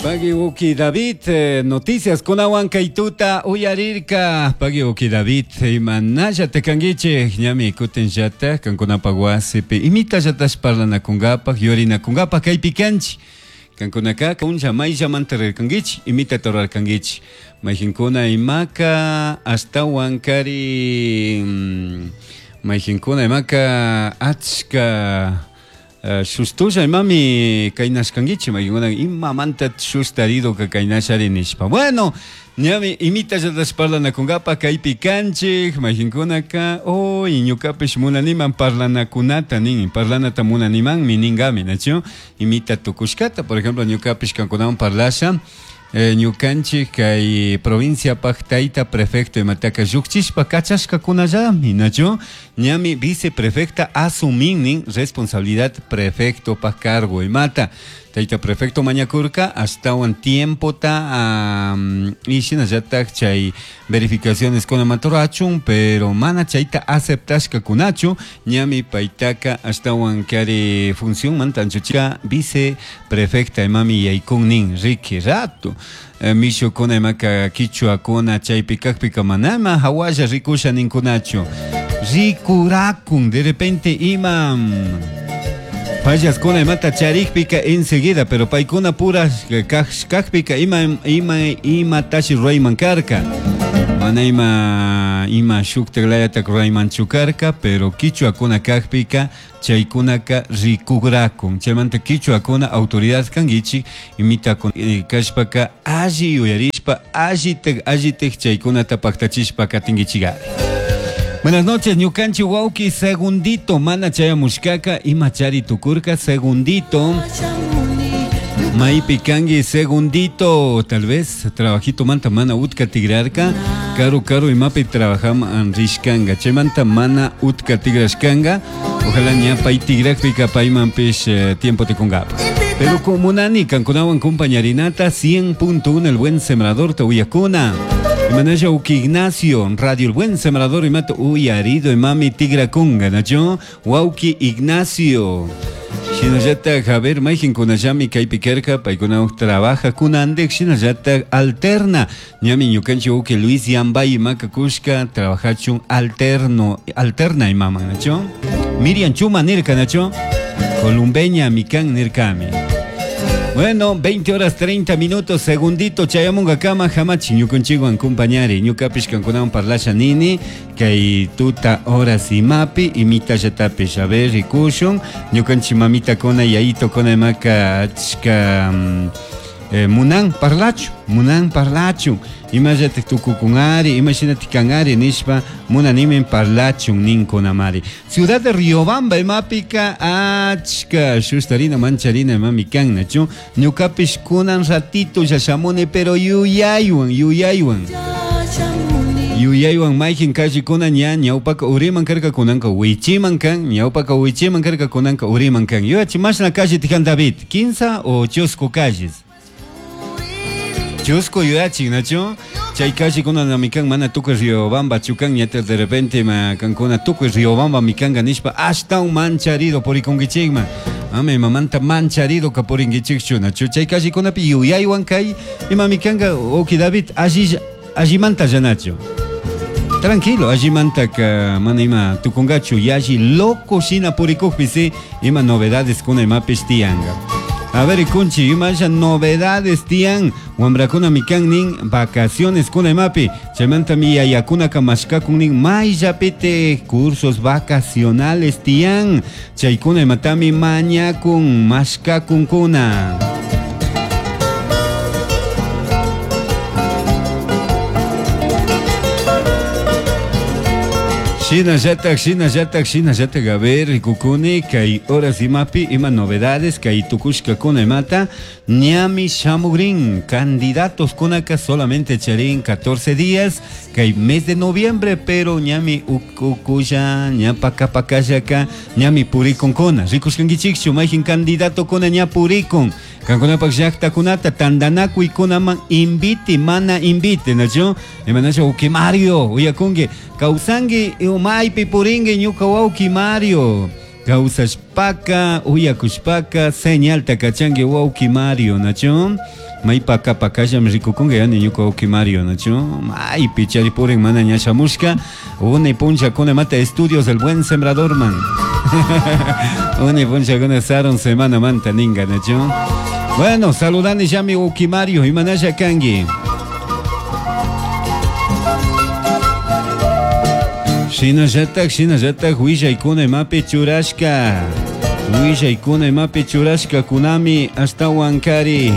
Pagui uki David, noticias kunawan kay tuta uyarirka. Pagui uki David, imanallata kankichik, ñami kutinllata kankunapak wasipi imitallatash parlanakunkapaj, yurinakunkapaj kaypi kanchik. Kankunaka punlla mayllamanta rirkankichik, imitata rurarkankichik. Mayqinkuna imaka ashtawan kari mayqinkuna imaka achka shustulla imami kaynashkankichik, mayqinkuna imamanta shustaridoka kaynashari nishpa. Bueno, ñami imitallatash parlanakunkapaj kaypi kanchik, mayqinkunaka uy ñukapish munaniman parlanakunata nin, parlanata munanimanmi ninkami, nachu? Imita tukushkata, por ejemplo, ñukapish kankunawan parlasha, ñukanchik kay provinciapaj tayta prefecto imataka llukchishpa kachashkakunallami, nachu? Ñami viceprefecta asumin nin responsabilidad prefectopaj cargo imata. Tayta prefecto mañakurka ashtawan tiempota y shinallatak chay verificaciones kunamanta rurachun, pero mana chayta aceptashkakunachu, ñami paytaka ashtawan kari funcionmanta anchuchika viceprefecta imami yaykun nin, riki rato. Mishukuna imaka kichwakuna chaypi kakpika manama hawalla rikusha ninkunachu. Rikurakun de repente ima fallaskuna imata charikpika enseguida, pero paykuna pura kakpika ima ima imatashi rurayman karka. Mana ima ima shuktak layatak ruraymanchu karka, pero kichwakuna kakpika chaykunaka rikukrakun. Chaymanta kichwakuna autoridad kankichik, imitakun kashpaka alli yuyarishpa, allitak allitak chaykunata paktachishpa katinkichikari. Buenas noches, ñukanchik wawki segundito mana chayamushkaka, ima chari tukurka segundito. Maypi kanki segundito, tal vez trabajito manta mana utka tigrarka, karu karu imapi trabajaman rishkanga, chaymanta mana utka tigrashkanga, ojalá ña pay tigrakpika paymanpish tiempo tikunkapa. Pero como nani kankunawan compañarinata 100.1 El Buen Sembrador te uyakuna. Imanalla uki Ignacio, Radio El Buen Sembrador imata uyarido imami tigrakunga, nacho? Wauki Ignacio. Shinallata Javier mayqin kunallami kaypi karka, paykuna trabaja kunandik, shinallata alterna. Ñami ñukanchik uki Luis Yambay imaka kushka trabajachun alterno, alterna imama, nacho? Miriam Chuma nirka, nacho? Columbeña mikan nirkami. Bueno, 20 horas 30 minutos, segundito, chayamunga kama, hamachi, ñukunchikwan compañari, ñukapish kankunawan parlasha nini, kay tuta horas imapi, imitallatapish, a ver, rikushun, ñukanchik mamita kona, yayito kona imaka achka, munan parlachu, munan parlachu, imallatik tukukunari, imashinatik kanari nishpa, munanimin parlachun ninkunamari. Ciudad de Riobamba imapika achka shustarina mancharina imami kan, nachu? Ñukapish kunan ratito ya shamuni, pero yuyaywan, yuyaywan. Yuyaywan mayqin callikuna ña ñawpaka uriman karka kunanka wichiman kan, ñawpaka wichiman karka kunanka uriman kan. Yuyachi mashna calle tijan David, 15 o chusku calles. Chusku yuyachin, nachu? Chay callikuna namikan mana tukuy Riobamba chukan, ñata de repente ma kankuna tukuy Riobamba mikanga nishpa ashtawan mancharido purikunkichikman. Ama imamanta mancharido ka purinkichikchu, nachu? Chay callikunapi yuyaywan kay ima mikanga, oki David, alli allimanta llanachu. Tranquilo, allimanta ka mana ima tukungachu, yalli loco shina purikukpi si ima novedades kuna imapish tiyanga. A ver, kunchi, imasha novedades tiyan, wambrakuna mikan nin vacaciones kuna imapi, chaymanta mi yayakunaka mashkakun nin mayllapite cursos vacacionales tiyan, chaykuna imatami mañakun mashkakunkuna. Shinallatak, shinallatak, shinallatak, a ver, rikukuni, kay horas imapi, ima novedades, kay tukushkakuna imata, ñami shamugrin, candidatos kunaka solamente charin 14 días, kay mes de noviembre, pero ñami ukukulla, ña pakapakallaka, ñami purikunkuna, rikushkankichikchu, mayjin candidato kuna ña purikun, kankunapak llaktakunata tandanakuykunaman invite, mana invite, nachu? Imanachu, uki Mario, uyakunki, kawsanki, maypi purinki, ñuka wawki Mario. Kawsashpaka, uyakushpaka, señalta kachanki wawki Mario, nachu? Maypaka pakallami rikukunka yani ñuka wawki Mario, nachu? Maypi chari purin mana ña shamushka, unay punllakuna mata estudios del buen sembrador man. Unay punllakuna sarun semana manta ninga, nachu? Bueno, saludani llami wawki Mario, imanalla kanki? Shinallatak, shinallatak willaykuna imapi churashka. Willaykuna imapi churashka kunami ashtawan kari.